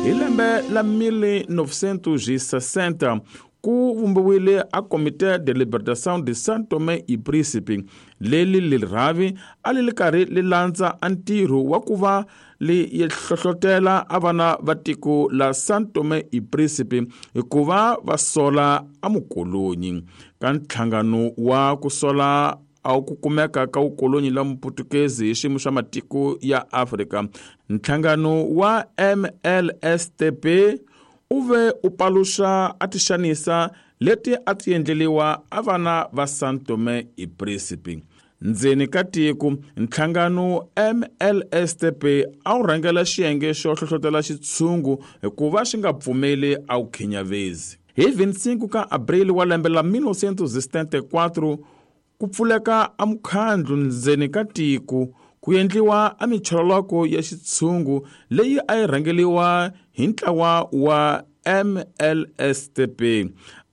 Hi lembe la 1960 ku vumbiwile a Comité de Libertação de São Tomé e Príncipe. Leli lirhavi a li li karhi li landza a ntirho wa ku va li hlohlotela a vana va tiko la São Tomé e Príncipe ku va va sola a mukolonyi. Ka ntlhangano wa ku sola a ku kumeka ka vukolonyi la muputukezi hi xiyimo xa matiko ya Afrika, nhlangano wa MLSTP u ve u paluxa a tixanisa leti a ti endleliwa a vana va São Tomé e Príncipe. Ndzeni ka tiko, nhlangano MLSTP a wu rhangela xiyenge xo hlohlotela xitshungu hikuva xi nga pfumeli a wu khinyavezi. Hi 25 ka Abril wa lembe la 1974 ku pfuleka a mukhandlu ndzeni ka tiko ku endliwa a michololoko ya xitshungu leyi a yi rhangeliwa hi ntlawa wa MLSTP.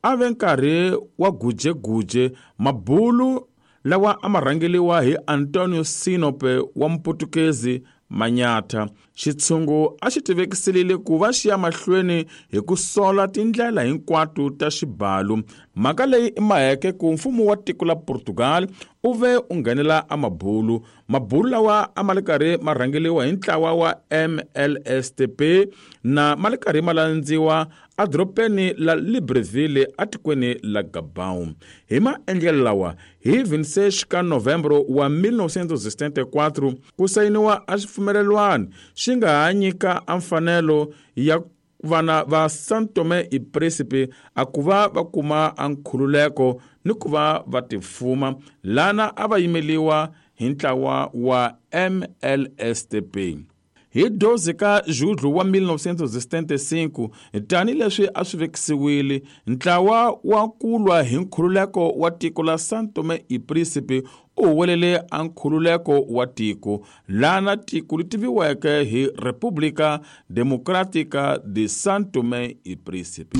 A ve nkarhi wa gujeguje mabulu lawa a ma rhangeliwa hi Antonio Sinope wa Muputukezi Manyatha. Xitshungu a xi tivekiselile ku va xi ya mahlweni hi ku sola tindlela hinkwato ta xibalo. Mhaka leyi i maheke ku mfumo wa tiko la Portugal u ve u nghenela a mabulu. Mabulu lawa a ma li karhi ma rhangeliwa hi ntlawa wa MLSTP na ma li karhi ma landziwa edorobeni la Libreville atikweni la Gabon. Hi maendlelo lawa, hi 26 ka Novembro wa 1974 ku sayiniwa a xipfumelelwano xi nga ha nyika a mfanelo ya vana va São Tomé e Príncipe a ku va va kuma a nkhululeko ni ku va va tifuma, lana a va yimeliwa hi ntlawa wa MLSTP. Hi 12 ka Julho wa 1975, tanihileswi a swi vekisiwile, ntlawa wa ku lwa hi nkhululeko wa tiko la São Tomé e Príncipe u huwelele a nkhululeko wa tiko, lana tiko li tiviweke hi República Democrática de São Tomé e Príncipe.